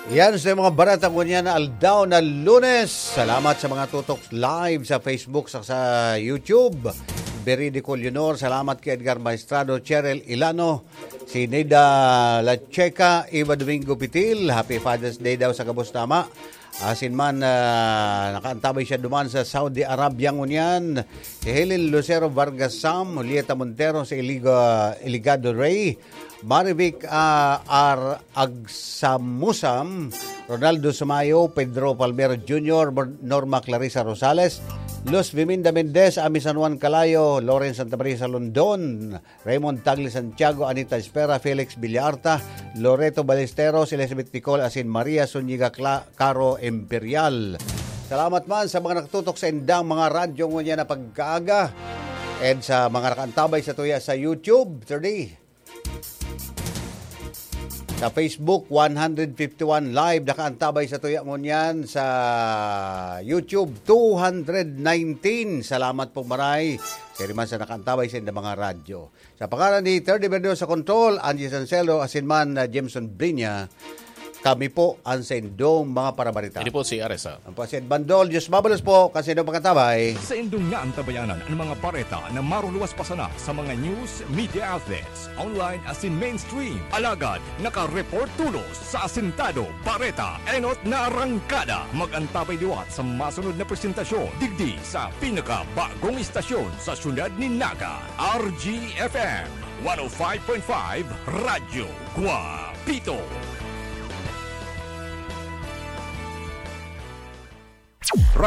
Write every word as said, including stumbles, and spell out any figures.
Yan sa mga bareta ngunyan na aldaw na Lunes. Salamat sa mga tutok live sa Facebook, sa, sa YouTube. Veridicol Leonor, salamat kay Edgar Maestrado, Cheryl Ilano, si Neda Lacheca, Eva Domingo Pitil. Happy Father's Day daw sa gabos na ama. Asin man, ah, nakaantabay siya duman sa Saudi Arabia ngunyan. Si Helen Lucero Vargas Sam, Julieta Montero, si Eliga, Eligado Rey, Marivic, ah, R. Agsamusam, Ronaldo Sumayo, Pedro Palmero Junior, Mor-, Norma Clarissa Rosales, Luz Viminda Mendez, Ami San Juan Calayo, Lawrence Santa Maria Salondon, Raymond Tagle Santiago, Anita Espera, Felix Villarta, Loreto Ballesteros, Elizabeth Nicole, asin Maria Zuniga Cla-, Caro Imperial. Salamat man sa mga nakatutok sa indang mga radyo ngunyan na pagkaaga. And sa mga nakaantabay sa tuya sa YouTube, thirty. Sa Facebook, one hundred fifty-one live, nakaantabay sa tuya ngunyan. Sa YouTube, two hundred nineteen. Salamat po, maray. Siri man sa nakaantabay sa indang mga radyo. Sa pangalan ni Third Avenue sa Control, Angie Sancelo, asin man na Jameson Brinya, kami po ang sa indong mga parabarita. Ini po si Arisa. Ang po si Ed Bandol, Diyos mabalos po, kasi daw pagkatabay. Sa indong naantabayanan ang mga bareta na maruluwas pa sana sa mga news, media outlets, online asin mainstream. Alagad, naka-report tulos sa Asintado, Bareta, Enot na Arangkada. Mag-antabay liwat sa masunod na presentasyon, digdi sa pinakabagong istasyon sa siyudad ni Naga, R G F M, one oh five point five Radyo Guapito.